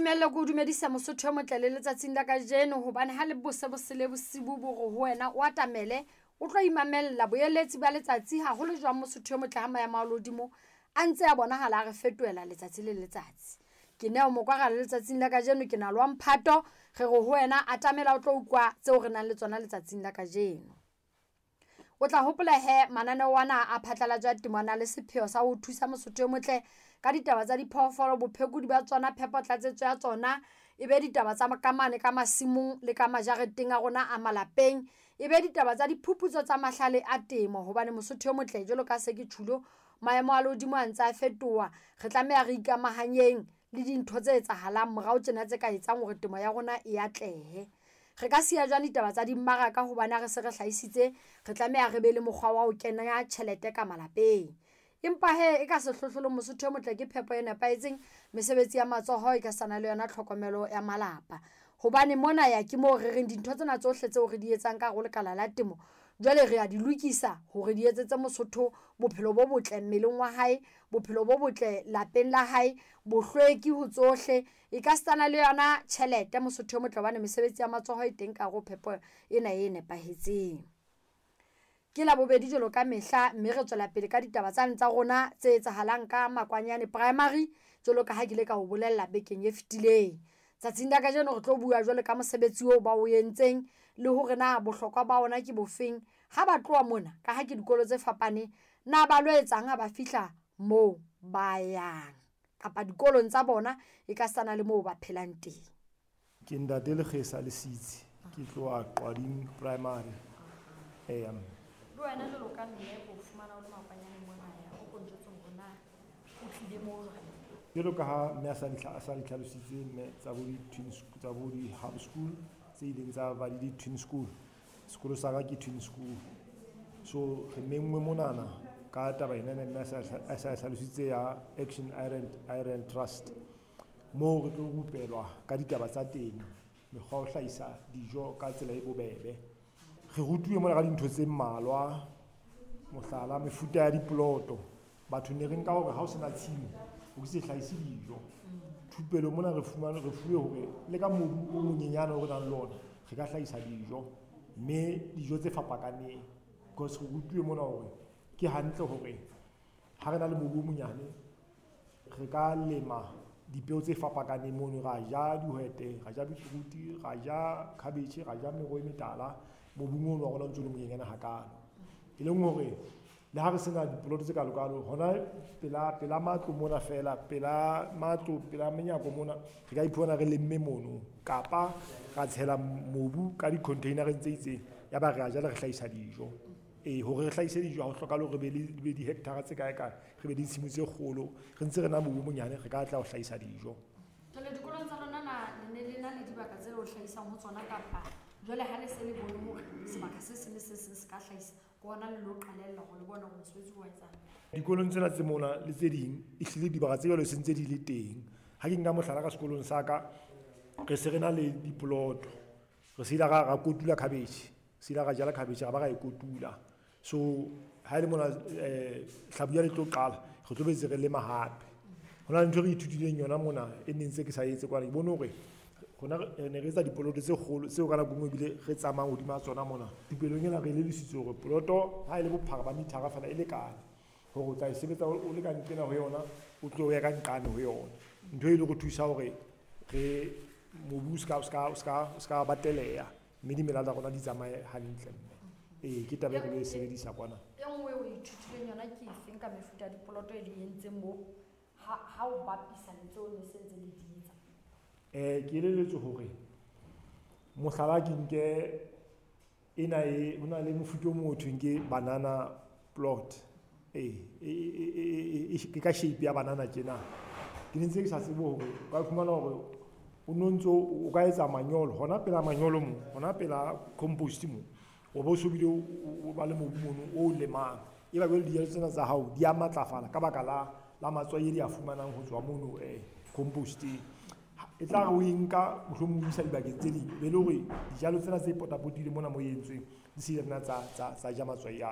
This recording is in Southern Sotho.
Ntumelle ke o dumedisa Mosotho o motle le letsatsing la kajeno, hobane ha le bose bosele bosibu bo re ho wena o atamele o tlo imamella boeletsi ba letsatsi, haholo jwang Mosotho o motle ha maemo a lehodimo a ntse a bonahala a re fetohela letsatsi le letsatsi. Ke Neo Mokwara le letsatsing la kajeno ke na le wa mphato, re re ho wena atamela o tlo utlwa tseo re nang le tsona letsatsing la kajeno. O tla hopola he mananeo ana a phatlalatso ya temo a na le sepheo sa ho thusa Mosotho o motle ka ditaba tsa diphoofolo, bophekodi ba tsona, phepo tlatsetso ya tsona, e be ditaba tsa ka mane ka masimong le ka majareteng a rona a malapeng, e be ditaba tsa diphuputso tsa mahlale a temo, hobane Mosotho o motle jwalo ka se ke tjhulo, maemo a lehodimo a ntse a fetoha, re tlameha re ikamahanyeng le dintho tse etsahalang morao tjena tse ka etsang hore temo ya rona e atlehe. Re ka siya jwang ditaba tsa dimmaraka, hobane ha re se re hlahisitse re tlameha re be le mokgwa wa ho kenya tjhelete ka malapeng. Empa he e ka sehlohlolong Mosotho o motle ke phepo e nepahetseng, mesebetsi ya matsoho e ka sana le yona tlhokomelo ya malapa. Hobane mona ya ke moo re reng dintho tsena tsohle tseo re di etsang ka hare ho lekala la temo, jwale re a di lokisa hore di etsetse Mosotho bophelo bo botle mmeleng wa hae, bophelo bo botle lapeng la hae, bohlweki ho tsohle. E ka sana le yona tjhelete Mosotho o motle, hobane mesebetsi ya matsoho e teng ka hare ho phepo ena e nepahetseng. Ke Labobedi jwalo ka mehla, mme re tswela pele ka ditaba tsane tsa rona tse etsahalang ka Makwanyane Primary, jwalo ka ha ke ile ka o bolella bekeng e fetileng. Tsatsing la kajeno re tlo bua jwalo ka mosebetsi oo ba o entseng le hore na bohlokwa ba ona ke bofeng ha ba tloha mona, ka ha ke dikolo tse fapaneng, na ba lo etsang ha ba fihla moo ba yang kapa dikolong tsa bona e ka sana le moo ba phelang teng. Ke Ntate Lekgesa Lesitsi, ke tloha Qwading Primary. Eya. Le wena jwalo ka mme o fumana o le Makwanyane mona ya, o ko njwetse hore na o tlile moo jwang? Jwalo ka ha mme a sa di a sa di tlhalositse mme tsa bo di-twin tsa bo di-hub school tse ileng tsa ba le di-twin school. Sekolo sa ka ke twin school. So re menngwe monana ka taba ena mme a sa hlalositse ya Action Iron Trust. Moo re tlo rupelwa ka ditaba tsa temo, mekgwa ya ho hlahisa dijo ka tsela e bobebe. Re rutuwe mona ka dintho tse mmalwa, mohlala mefuta ya dipoloto. Batho ne re nka hore ha o sena tshimo o ke se hlahise dijo. Thupelo mona re fumane, re fuwe hore le ka mobu o monyenyane o re nang le ona re ka hlahisa dijo, mme dijo tse fapakaneng. Because re rutuwe mona hore ke hantle hore ha re na le mobu o monyane re ka lema dipeo tse fapakaneng mono, ra ja dihwete, ra ja beetroot, ra ja cabbage, ra ja meroho e metala mobung ono wa rona o ntso le monyenyane hakalo. E leng hore le ha re sena dipoloto tse kalokalo hona pela matlo mona fela, pela matlo, pela menyako mona, re ka iphumana re lemme mono, kapa ra tshela mobu ka di-container-eng tse itseng, ya ba re a jala re hlahisa dijo. Ee, hore re hlahise dijo ha ho hlokahale hore re be le be di-hectare tse kae kae, re be le ditshimo tse kgolo, re ntse re na mobu o monyane re ka tla ho hlahisa dijo. Jwale dikolong tsa lona na le ne le na le dibaka tse le ho hlahisang ho tsona, kapa jwale ha le se le bone hore sebaka se seng le se seng se ka hlahisa, ke hona le lo qalella hore le bone hore mosebetsi o etsang? Dikolong tsena tse mona le tse ding, ehlile dibaka tse jwalo se ntse di le teng. Ha ke nka mohlala ka sekolong sa ka, re se re na le dipoloto, re se ile ra kotula cabbage, se ile ra jala cabbage ra ba ra e kotula. So ha e le mona hlabula le tlo qala, re tlo betse re lema hape. Ho na le ntho e re ithutileng yona mona e neng ntse ke sa etse kwana, ke bone hore rona re ne re etsa dipoloto tse kgolo tseo ka nako e nngwe ebile re tsamayang hodima tsona mona. Thupelong ena re elellisitswe hore poloto ha e le bophara ba mithara fela e lekane hore o tla e sebetsa o le ka nqena ho yona, o tlo ya ka nqane ho yona. Ntho e le re thusa hore re mobu o ska bateleha, mme dimela tsa rona di tsamaye hantle. Ee, ke taba e re lo e sebedisa kwana. E nngwe o ithutileng yona ke efeng ka mefuta ya dipoloto e le entseng moo ha o bapisa le tseo ne se ntse le di etsa? Ke elelletswe hore mohlala ke nke ena e, ho na le mofuta o mong ho thweng ke banana plot. Ee, ke ka shape ya banana tjena. Ke ne ntse ke sa tsebe hore o ka fumana hore o no ntso o ka etsa manyolo hona pela manyolo mo, hona pela compost mo, o bo so bile o ba le mobu mono o lemang. E ba jwale dijalo tsena tsa hao di a matlafala ka baka la matswai e di a fumanang ho tswa mono composteng. E tla re o e nka mohlomong o isa dibakeng tse ding, be le hore dijalo tsena tse potapotileng mona mo e entsweng di se nna tsa ja matswai a.